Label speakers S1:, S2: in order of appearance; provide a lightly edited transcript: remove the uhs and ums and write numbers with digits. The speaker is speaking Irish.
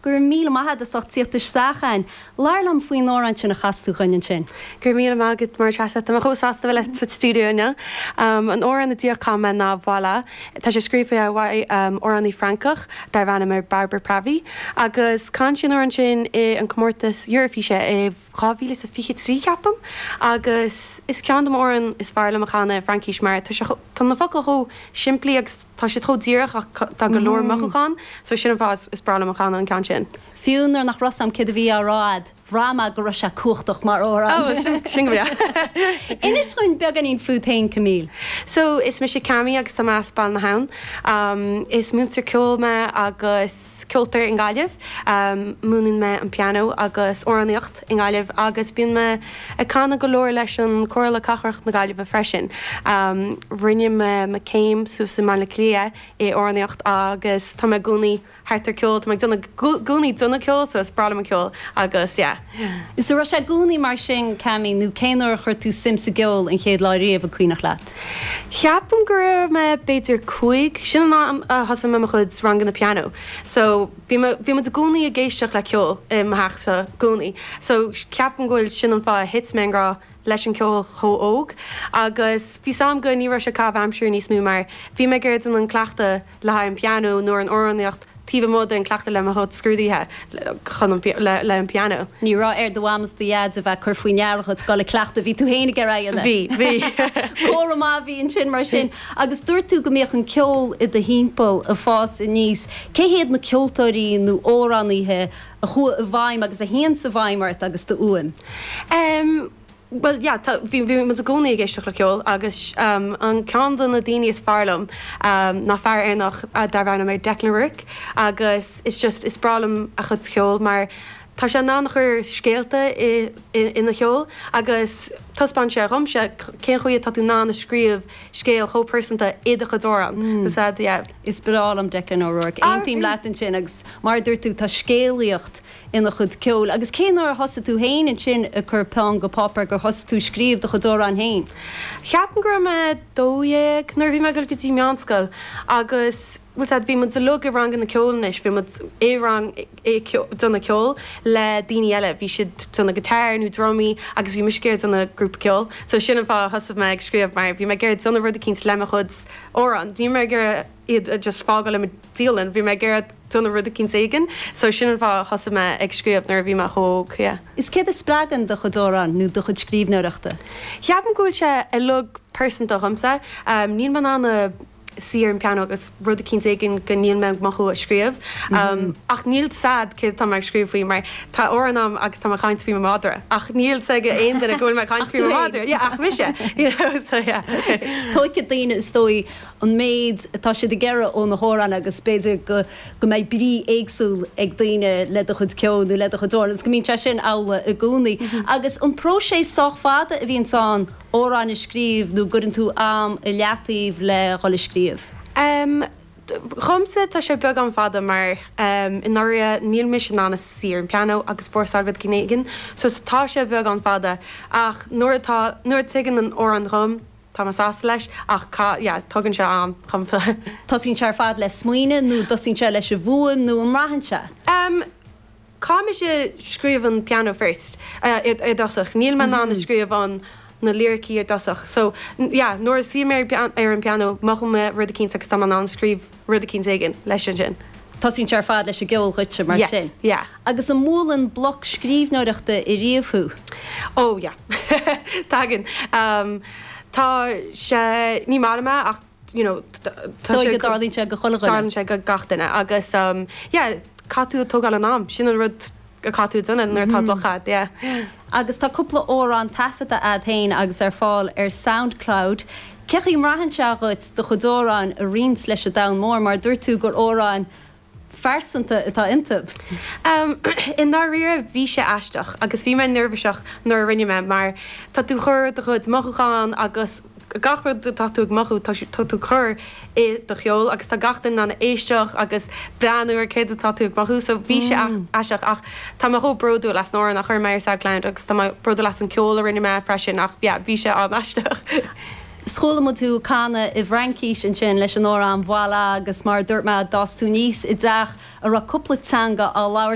S1: Go raibh míle maith agat as ucht tíocht isteach a'inn. Labhair liom faoin amhrán sin a chas tú dhuinn ansin.
S2: Go raibh míle maith agat, Máire Treasa. Tá mé chomh sásta bheith leat sa stiúideo inniu. An amhrán a díreach chan mé ná Voilà. Tá sé scríofa ag amhránaí Francach darbh ainm ar Barbara Pravi agus chan sí an amhrán sin i an comórtas Eurofíse i 2023 ceapaim agus is ceann de m'amhráin is fearr liom a chanadh i Fraincis mar tá sé tá na focail chomh simplí agus tá siad chomh díreach ach tá go leor mothúchán so sin an fáth is breá liom a chanadh an ceann sin.
S1: Fiú nuair nach raibh 's a'm céard a bhí á rá a'd, bhraith mé go raibh sé cumhachtach mar amhrán.
S2: Oh, sin go breá.
S1: Inis dhúinn beagáinín fút féin, Camille.
S2: So, is mise Cammy agus tá mé as Baile na hAbhann. Is múinteoir ceoil mé agus ceoltóir i nGaillimh. Múineann mé an pianó agus amhránaíocht i nGaillimh agus bíonn mé ag canadh go leor leis an Comhairle Cathrach na Gaillimhe freisin. Rinne mé mo céim suas i mBaile Átha Cliath i amhránaíocht agus tá mé i gcónaí thart ar ceol, tá mé ag déanamh i gcónaí déanamh ceol so is breá liom an ceol agus yeah.
S1: Is an raibh sé i gcónaí mar sin, Cammy, nó cén uair a chuir tú suim sa gceol an chéad lá riamh, an cuimhneach leat?
S2: Ceapaim go raibh mé b'fhéidir 5, sin an am a thosaigh mé mo chuid ranganna pianó so bhí mé, bhí muid i gcónaí ag éisteacht le ceol i mo theachsa i gcónaí so ceapaim go bhfuil sin an fáth a thit mé i ngrá leis an ceol chomh óg agus bhí 's a'm go ní raibh sé caitheamh aimsire níos mó mar bhí mé ag iarraidh déanamh an cleachtadh le haghaidh an pianó nó an amhránaíocht taobh amuigh den cleachtadh le mo chuid scrúduithe chun an le an pianó.
S1: Ní raibh ar do mham is do dhaid a bheith ag cur faoi ndeara dhuit dul ag cleachtadh, bhí tú féin ag iarraidh a dhéanamh.
S2: Bhí, bhí.
S1: Comhartha maith a bhí ansin mar sin. Agus dúirt tú go mbíodh an ceol i do thimpeall ag fás aníos. Cé hiad na ceoltóirí nó amhránaithe a chuaigh i bhfeidhm agus a théanns i bhfeidhm ort agus do fhuaim?
S2: Em. Bhuel, yeah, tá, bhí, bhí muid i gcónaí ag éisteacht le ceol agus an ceann de na daoine is fearr liom ná fear Éireannach darb ainm é Declan O'Rourke agus is just, is breá liom a chuid ceoil mar tá sé in ann a chur scéalta i, ina cheol agus taispeánann sé dhomsa cén chaoi atá tú in ann a scríobh scéal chomh pearsanta i do chuid amhrán. Is ea, yeah.
S1: Is breá liom Declan O'Rourke. Aontaím leat ansin agus mar a dúirt tú tá scéalaíocht ina chuid ceoil. Agus cén uair a thosaigh tú féin ansin ag cur peann go páipéar, gur thosaigh tú ag scríobh do chuid amhrán féin?
S2: Ceapaim go raibh mé 12 nuair a bhí mé ag dul go dtí meánscoil agus bhfuil 's a'd bhí muid uilig i ranganna ceoil anois, bhí muid i rang ag déanamh ceoil le daoine eile, bhí siad déanamh guitar nó drumaí agus bhí mise ag iarraidh déanamh grúpa ceoil so sin an fáth a thosaigh mé ag scríobh mar bhí mé ag iarraidh déanamh rud eicínt le mo chuid amhrán, ní raibh mé ag iarraidh iad a just fágáil i mo dialann, bhí mé ag iarraidh déanamh rud eicínt éigin so sin an fáth a thosaigh mé ag scríobh nuair a bhí mé chomh hóg, yeah.
S1: Is céard a spreagann do chuid amhrán nó do chuid scríbhneoireachta?
S2: Ceapaim go bhfuil sé uilig pearsanta dhomsa. Níl mé in ann a suí ar an pianó agus rud eicínt éigin go níl mé ag mothú a scríobh. Ach níl 's a'd céard atá mé ag scríobh faoi mar tá amhrán a'm agus tá mé ag caint faoi mo mhadra ach níl 's ag aon duine go bhfuil mé ag caint faoi mo mhadra. Yeah, ach mise, you know, so yeah.
S1: Tuigfidh daoine is dóigh an méid atá siad ag iarraidh ó na hamhráin agus b'fhéidir go go mbeidh brí éagsúil ag daoine le do chuid ceoil nó le do chuid amhrán agus go mbíonn sé sin amhlaidh i gcónaí. Agus an próiseas sách fada a bhíonns ann amhráin a scríobh nó gcuireann tú am i leataobh le dhul ag scríobh?
S2: Em, dhomsa tá sé beagán fada mar em i ndáiríre níl mise in ann a suí ar an pianó agus fórsáil rud éigin so tá sé beagán fada ach nuair atá nuair a tigeann an amhrán dhom Tá mé sásta leis ach ca, yeah, tugann sé am dhom.
S1: Tosaíonn sé ar fad le smaoineamh nó dtosaíonn sé leis an bhfuaim nó an mbraitheann sé?
S2: Em, caithfidh mise scríobh an piano first, eh, i dtosach. Níl mé in ann a scríobh an, na liricí i dtosach. So, yeah, nuair a suím ar, ar an piano, mothaím mé rud eicínt agus tá mé in ann scríobh rud eicínt éigin leis ansin.
S1: Tosaíonn sé ar fad leis an gceol dhuitse, mar
S2: Yes,
S1: sin.
S2: yeah.
S1: Agus an mbuaileann bloc scríbhneoireachta ariamh thú?
S2: Oh yeah. Tagann. Tá sé, ní maith liom é ach you know tá
S1: sé. Is dóigh go dtarlaíonn sé go chuile dhuine.
S2: Tarlaíonn sé go gach duine agus yeah caithfidh tú a tógáil an am, sin an rud a caithfidh tú a déanamh nuair atá bloc a'd, yeah.
S1: Agus tá cúpla amhrán taifeadta a'd féin agus ar fáil ar Soundcloud. Cén chaoi a mbraitheann sé dhuit do chuid amhráin a roinnt leis an domhan mór mar dúirt tú gur amhráin phearsanta atá iontu.
S2: I ndáiríre bhí sé aisteach agus bhí mé neirbhíseach nuair a rinne mé mar tá tú chur do chuid mothúchán agus gach rud atá tú ag mothú tá tú cur i do cheol agus tá gach duine in ann a éisteach agus breathnú ar céard atá tú ag mothú so bhí sé aisteach ach tá mé chomh bródúil as an amhrán a chuir mé ar Soundcloud agus tá mé bródúil as an ceol a rinne mé freisin ach yeah bhí sé an-aisteach.
S1: 'S chuala muid thú ag canadh i bhFraincís ansin leis an amhrán Voilà agus mar a dúirt mé d'fhás tú aníos i dteach a raibh cúpla teanga á labhairt.